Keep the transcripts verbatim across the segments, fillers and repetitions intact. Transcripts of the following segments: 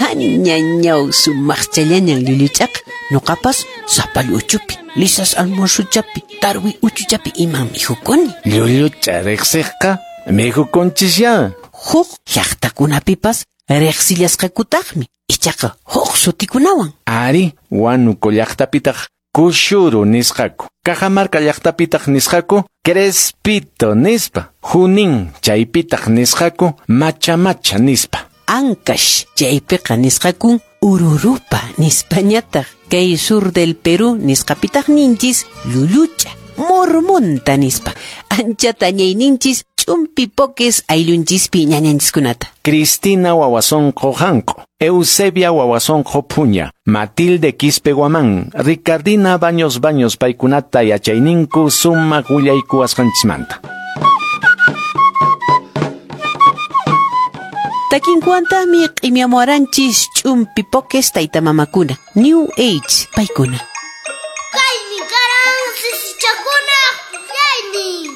Añañaw sumaqchallañan llulluch'aqa. Nuqapas sapallu uchupi, lisas almuerzuchapi, tarwi uchuchapi iman mikhukuni. Llulluch'a riqsiqqa mikhukunchisya. Huk llaqtakunapipas riqsillasqakutaqmi, ichaqa huk sutikunawan. Ari, Huánuco llaqtapitaq kushuru nisqaku. Cajamarca llaqtapitaq nisqaku crespito nispa. Junín chaypitaq nisqaku macha macha nispa. Ancash chaypiqa nisqakun ururupa nispañataq. Kay sur del Perú nisqapitaq ninchis llullucha, mormonta nispa. Anchata ñayninchis ch'umpi pokes ayllunchispi ñañanchiskunata. Cristina Wawasonqo Janco, Eusebia Wawasonqo Puña, Matilde Quispe Guamán, Ricardina Baños Baños paykunata yachayninku sumaq willaykuwasqanchismanta. Takinkuantaqmi q'imiamuaranchis ch'umpi pokes tayta mamakuna, New Age paykuna. Kaymi karan sisichakuna puklaynin.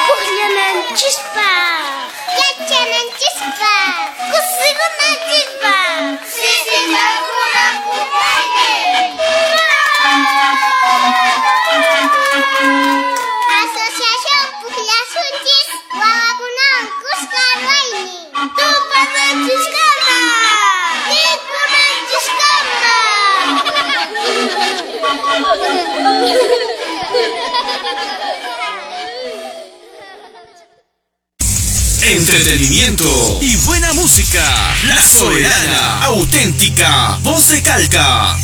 Pukllananchispaq, yachananchispaq, kusikunanchispaq. Sisichakuna puklaynin. Asociación Pukllasunchis wawakunawan kuska ruwaynin. Tupananchiskama, mikhunanchiskama. Entretenimiento y buena música. La Soberana, auténtica, voz de Calca.